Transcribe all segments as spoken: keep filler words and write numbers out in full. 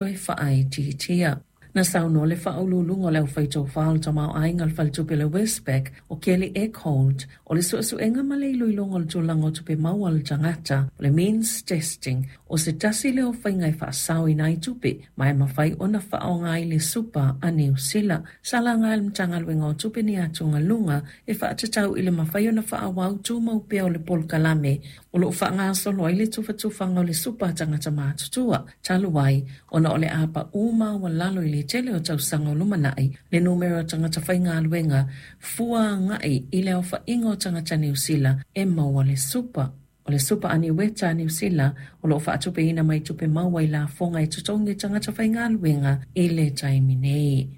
Toe faaitiitia. Na saunoa le faauluuluga o le aufaitofā o le tamaoaiga o le faletupe le Westpac o Kelly Eckhold, o le suesuega ma le iloiloga o le tulaga o tupe maua a le tagata, o le means testing, o se tasi lea o faiga e faasaoina ai tupe ma e mafai ona faaaoga i le supa a Niu Sila. Sa laga e le Matagaluega o Tupe ni atugaluga e faatatau i le mafai ona faaauau tumau pea o le polokalame o loo faagasolo ai le tufatufaga o le supa a tagata matutua, talu ai ona o le a pau maualalo i le tele o tausaga o lumanai le numera o tagata faigaluega fua agai i le aofaiga o tagata Niu Sila e maua le supa. O le supa aniueta a Niu Sila o loo faatupeina mai tupe maua i lafoga e totogi e tagata faigaluega i le taimi nei.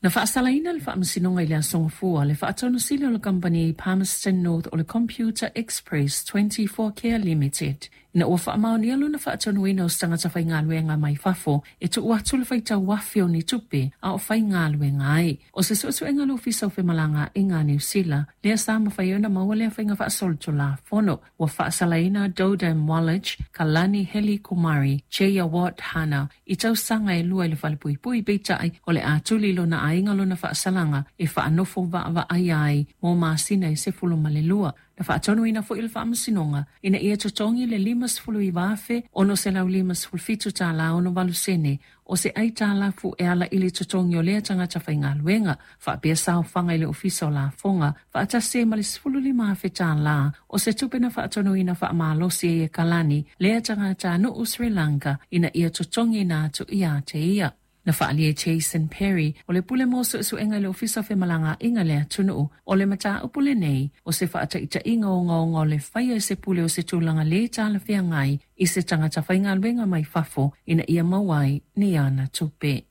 Na faasalaina le faamasinoga i le Aso Gafua le faatonusili o le kamupani Palmerston North o le Computer Express twenty-four Care Limited, ina ua faamaonia lona faatonuina o se tagata faigaluega mai fafo e tuu atu le faitau afe o ni tupe a o faigaluega ai. O se suesuega a le Ofisa o Femalagaaiga a Niu Sila, lea sa mafai ona maua lea faiga faasolitulafono. Ua faasalaina Dodam Wallage, Kalani Heli Kumari, Cheya Watt Hana i tausaga e lua i le falepuipui, peitai o le a tuli lona aiga lona faasalaga e faanofo vaavaai ai mo masina e sefulu ma le lua. Na faatonuina foi le faamasinoga ina ia totogi le lima sefulu iva afe ono selau lima sefulu fitu tālā ono valu sene o se aitalafu e ala i le totogi o lea tagata faigaluega, faapea saofaga i le ofisa o lafoga faatasi ai ma le sefulu lima afe tālā o se tupe na faatonuina faamalosi ai e Kalani lea tagata nuu Sri Lanka ina ia totogiina atu ia te ia. Na faaalia e Jason Perry o le pule mo suesuega i le ofisa o femalagaaiga le atunuu, o le mataupu lenei o se faataitaiga ogaoga o le faia e se pule o se tulaga lē talafeagai i se tagata faigaluega mai fafo ina ia maua ai ni ana tupe.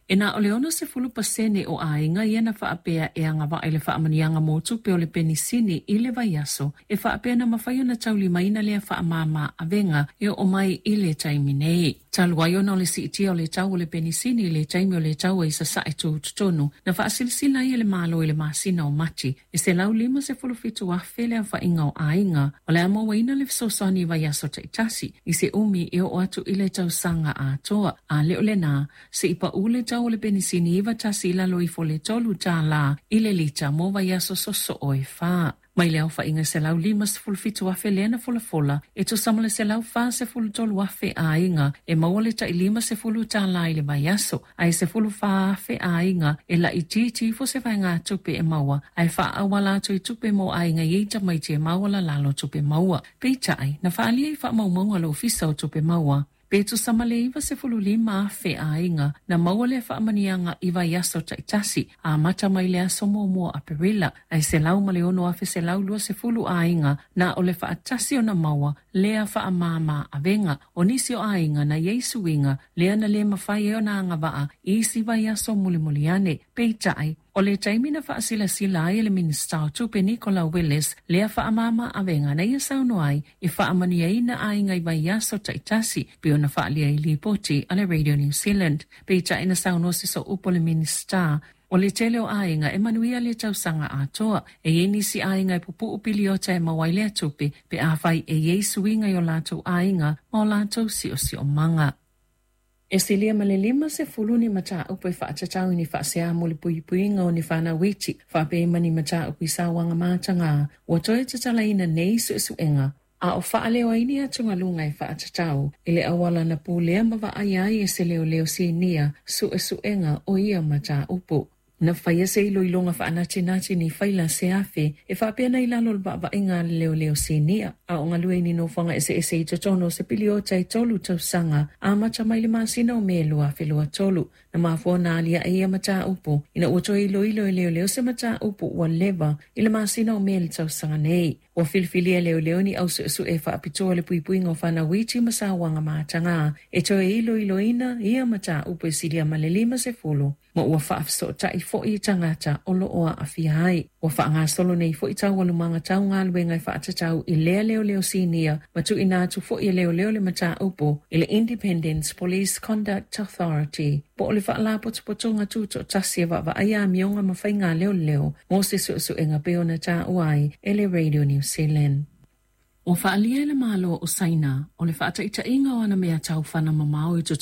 E na o le ono sefulu pasene o aiga ia na faapea e agavaa i le faamanuiaga mo tupe o le penisini i le vaiaso e faapea na mafai ona taulimaina lea faamāmā avega e oo mai i le taimi nei. Talu ai ona o le siitia o le tau o le penisini i le taimi o le taua i sasae tutotonu, na faasilasila ai e le Malo i le masina o Mati e selau lima sefulu fitu afe le aofaiga o aiga o le a mauaina le fesoasoani i vaiaso taitasi i se umi e oo atu i le tausaga atoa. A le o lenā, se'i pau le tau o le penisini iva tasi i lalo ifo le tolu tālā i le lita mo vaiaso sosoo e whā. Mai le aofaiga selau lima sefulu fitu afe lea na folafola e tusa ma le selau fa sefulu tolu afe aiga e maua le tai lima sefulu tālā i le vaiaso, ae sefulu fa afe aiga e laitiiti ifo se vaegatupe e maua ae faaauala atu i tupe mo aiga i ai tamaiti e maualalalo tupe maua. Peitai, na faaalia i faamaumauga a le Ofisa o Tupe Maua pe tusa ma le iva sefulu lima afe aiga na maua lea faamanuiaga i vaiaso taitasi amata mai le aso muamua Aperila, ae selau ma le ono afe selau lua sefulu aiga na o le faatasi ona maua lea faamāmā avega. O nisi o aiga na iai suiga lea na lē mafai ai ona agavaa i isi vaiaso mulimuli ane. Peitai, o le taimi na faasilasila ai e le Minista o Tupe Nicola Willis lea faamāmā avega na ia saunoa ai e faamanuiaina aiga i vaiaso taitasi pe ona faaalia i lipoti a le Radio New Zealand. Peitai na saunoa se sooupu o le Minista o le tele o aiga e manuia le tausaga atoa. E iai nisi aiga e pupuu piliota e maua ai lea tupe pe afai e iai suiga i o latou aiga ma o latou siosiomaga. E silia ma le lima sefulu ni mataupu e faatatau i ni faasea mo le puipuiga o ni fanau iti, faapea ma ni mataupu i sauaga matagā ua toe tatalaina nei suesuega a o faaleo ai ni atugaluga e faatatau i le auala na pulea ma vaaia ai e se leoleo sinia suesuega o ia mataupu. Na faia se iloiloga faanatinati ni faila se afe e faapea na i lalo o le vaavaaiga a le leoleo sinia a o galue i ni nofoaga eseese i totonu o se piliota e tolu tausaga amata mai le masina o Me lua afe lua tolu. Na mafua ona aliae ia mataupu ina ua toe iloilo e leoleo se mataupu ua leva i le masina o Me le tausaga nei. Ua filifilia e leoleo ni au suesue e faapitoa le puipuiga o fanau iti ma sauaga matagā e toe iloiloina ia mataupu e silia ma le lima sefulu ma ua faafesootai foi i tagata o loo aafia ai. Ua faagasolo nei foi taualumaga tau galuega e faatatau i lea leoleo sinia ma tuuina atu foi e leoleo le mataupu i le Independence Police Conduct Authority po o le faalapotopotoga tutoatasi e vaavaaia amioga ma faiga leoleo mo se suesuega pei ona taua ai e le Radio New Zealand. Ua faaalia e le Malo o Saina o le faataitaiga o ana mea taufana mamao i totonu